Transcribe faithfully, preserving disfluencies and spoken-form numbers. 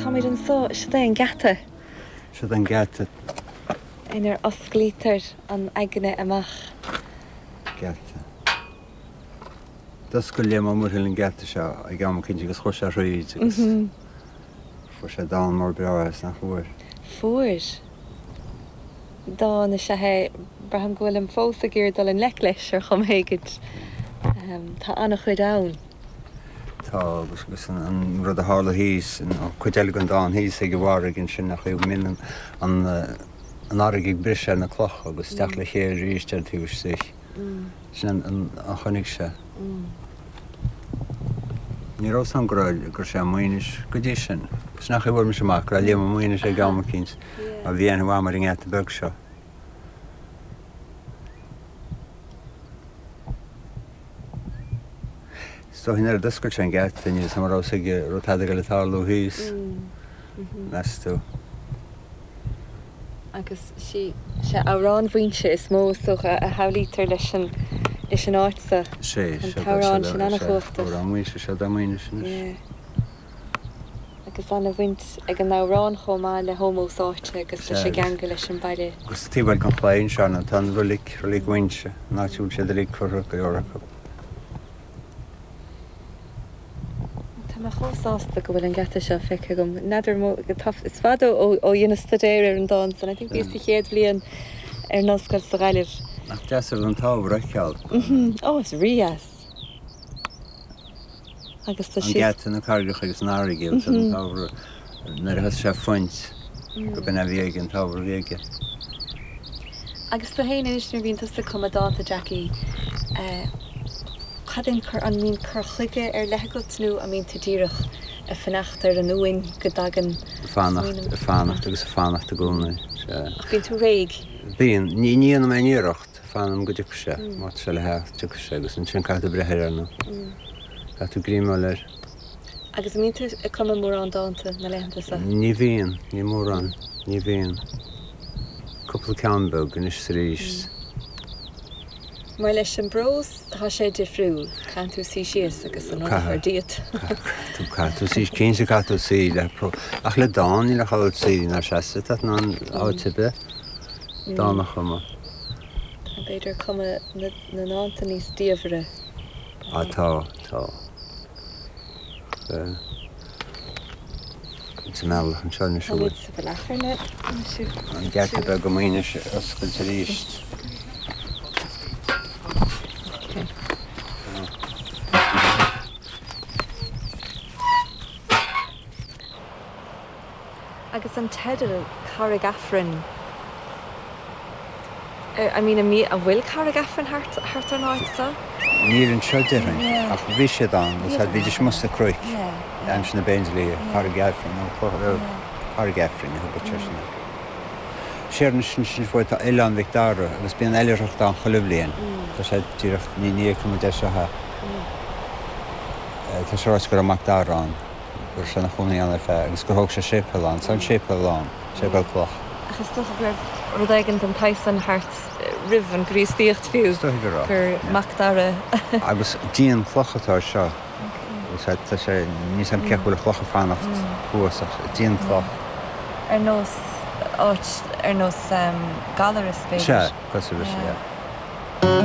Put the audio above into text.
Táimid anseo, siod é an geata. Siod an geata. Inar osclaítear an aigne amach. Geata. D'oscail Liam Ó Muirthile an geata seo ag am eicínt agus chuir sé thríd agus fuair sé dán mór breá as, nach bhfuair? Fuair. Dán is ea é, braithim go bhfuilim fós ag iarraidh dul i ngleic leis ar chuma éigint. Tá an-chuid ann. Tá, agus agus an an rud a tharla thíos, an cuid eile den dán thíos ag an bhfarraige ansin nach raibh min an an an fharraige ag briseadh ar na clocha agus teacht le chéile arís ar an taobh istigh. Sin an an a chonaic sé. Ní raibh 's agam go raibh go raibh sé i Maínis go dtí sin. Sin an chaoi a bhfuair mise amach go raibh Liam i Maínis ag am eicínt mar bhí aithne mhaith agam ar an ngeata beag seo. Is dóigh nuair a d'oscail sé an geata, níl 'fhios a'm an raibh 'fhios aige an raibh tada ag dul ag tarlú thíos, meas tú. Agus sí sé Amhrán Mhaínse is mó is dócha a shamhlaítear leis an leis an áit seo. Sé, An sé, t-amhrán sin an-chumhachtach. Amhrán Mhaínse, sé dá Maínis anois. Yeah. Agus an-bhaint ag an amhrán chomh maith le hómós áite agus leis an gceangal leis an baile. Agus taobh eile den chlaí anseo ná tá an roilig, Roilig Mhaínse, an áit a bhfuil siad uilig curtha, go leor acu. Tá mé chomh sásta go bhfuil an geata seo feicthe agam. N'fheadar mo, tá, is fada ó ó dheineas staidéar ar an dán san. I think bhíos sa chéad bhliain ar an ollscoil sa Ghaillimh. Nach deas an rud an t-ábhar a fheiceáil. Ó, is rídheas. Agus tá An sí. geata, na carraigeacha agus an fharraige agus an t-ábhar nuair a thosaigh sé ag fuint go b'in a bhí aige, an t-ábhar a bhí aige. Agus tú féin anois nuair a bhíonn tusa ag cumadh dánta, Jackie, cad é an cur, an mbíonn cur chuige ar leith agat nó an mbíonn tú díreach ag fanacht ar an uain go dtagann Ag fanacht, ag fanacht agus ag fanacht i gcónaí, sea. Ach bíonn tú réidh? Bíonn. Ní ní dhéanaim aon iarracht. Fanaim go dtiocfaidh sé. Má tá sé le theacht, tiocfaidh sé agus ansin caithfidh tú breith air, ar ndóigh. Caithfidh tú greamáil air. Agus an mbíonn tú ag cumadh mórán dánta na laethanta seo? Ní bhíonn, ní mórán, ní bhíonn. Cúpla ceann beag anois is arís. Mar leis an bprós, tá sé difriúil. Caithfidh tú suí síos agus an rud a chur díot. Caithfidh tú, caithfidh tú suí, cinnte caithfidh tú suí le prós. Ach le dán, níl ach áit suí ná seasamh, tá tú in ann áit ar bith dán a chumadh. Tá b'fhéidir cumadh na ndánta níos diamhaire. Á tá, tá. Sa mbealach anseo anois an bhfuil? Táimid sa bhealach anois. An geata beag i Maínis a oscailt arís. Agus an teideal Carraig Aifrinn, I mean an bhfuil Carraig Aifrinn thart thart ar an áit seo? Níl anseo déarfainn, ach bhí siad ann, agus bhídís amuigh sna cnoic, aimsir na bPéindlíthe, Carraig Aifrinn, nó Carraig Aifrinn a thugadh siad sin air. Siar anois ansin faoi tá Oileán Mhic Dara agus bíonn oilithreacht ann chuile bhliain. Tá sé díreach, ní ní fheicfidh muid é seo. Tá sé ráite go raibh Mac Dara ann. go raibh sé ina chónaí ann ar feadh agus gur thóg sé séipéal ann. Tá an séipéal ann, séipéal cloch. Ach is dócha go raibh rud éigin den tsaghas san thart roimh an gCríostaíocht fiú, Is dóigh go raibh, gur yeah. Mac Dara. Agus díon cloch atá air seo. Agus tá sé, níl 's a'm cén chaoi a bhfuil an chloch ag fanacht thuas ach díon cloch. Ar nós áit, ar nós Gallaras b'fhéidir. Sea, cosúil leis, yeah.